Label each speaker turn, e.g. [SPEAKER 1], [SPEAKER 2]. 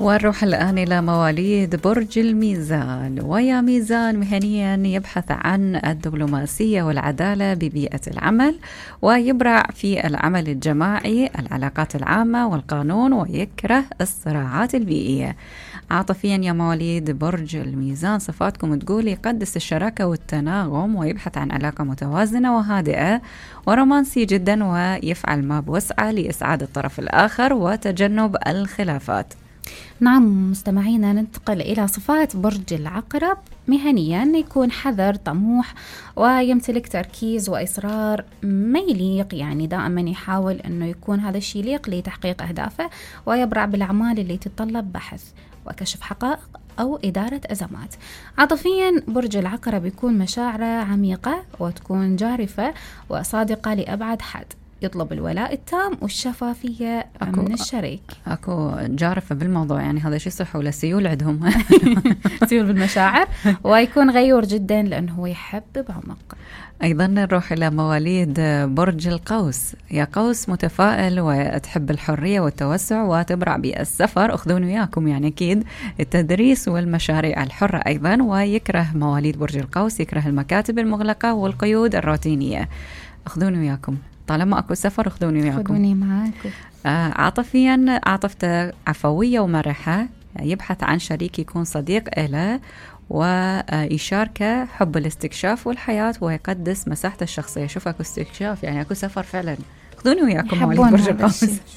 [SPEAKER 1] ونروح الآن إلى مواليد برج الميزان. ويا ميزان مهنيا يبحث عن الدبلوماسية والعدالة ببيئة العمل، ويبرع في العمل الجماعي، العلاقات العامة والقانون، ويكره الصراعات البيئية. عاطفيا يا مواليد برج الميزان صفاتكم تقول يقدس الشراكة والتناغم، ويبحث عن علاقة متوازنة وهادئة، ورومانسي جدا، ويفعل ما بوسعه لإسعاد الطرف الآخر وتجنب الخلافات.
[SPEAKER 2] نعم مستمعينا، ننتقل إلى صفات برج العقرب. مهنيا يكون حذر، طموح، ويمتلك تركيز وإصرار ما يليق، يعني دائما يحاول أنه يكون هذا الشيء يليق لتحقيق أهدافه، ويبرع بالأعمال اللي تتطلب بحث وكشف حقائق أو إدارة أزمات. عاطفيا برج العقرب يكون مشاعره عميقة وتكون جارفة وصادقة لأبعد حد، يطلب الولاء التام والشفافية من الشريك.
[SPEAKER 1] أكو جارفة بالموضوع، يعني هذا شيء صح ولا سيول عندهم؟
[SPEAKER 2] سيول بالمشاعر. ويكون غيور جدا لأنه هو يحب بعمق.
[SPEAKER 1] أيضا نروح إلى مواليد برج القوس. يا قوس متفائل وتحب الحرية والتوسع، وتبرع بالسفر، أخذون وياكم يعني أكيد، التدريس والمشاريع الحرة أيضا. ويكره مواليد برج القوس، يكره المكاتب المغلقة والقيود الروتينية. أخذون وياكم، طالما أكو سفر أخذوني وياكم.
[SPEAKER 2] خذوني معاكم.
[SPEAKER 1] عاطفيا عاطفته عفوية ومرحة، يبحث عن شريك يكون صديق له ويشاركه حب الاستكشاف والحياة، ويقدس مساحته الشخصية. شوف أكو استكشاف، يعني أكو سفر فعلا. خذوني وياكم مواليد برج القوس.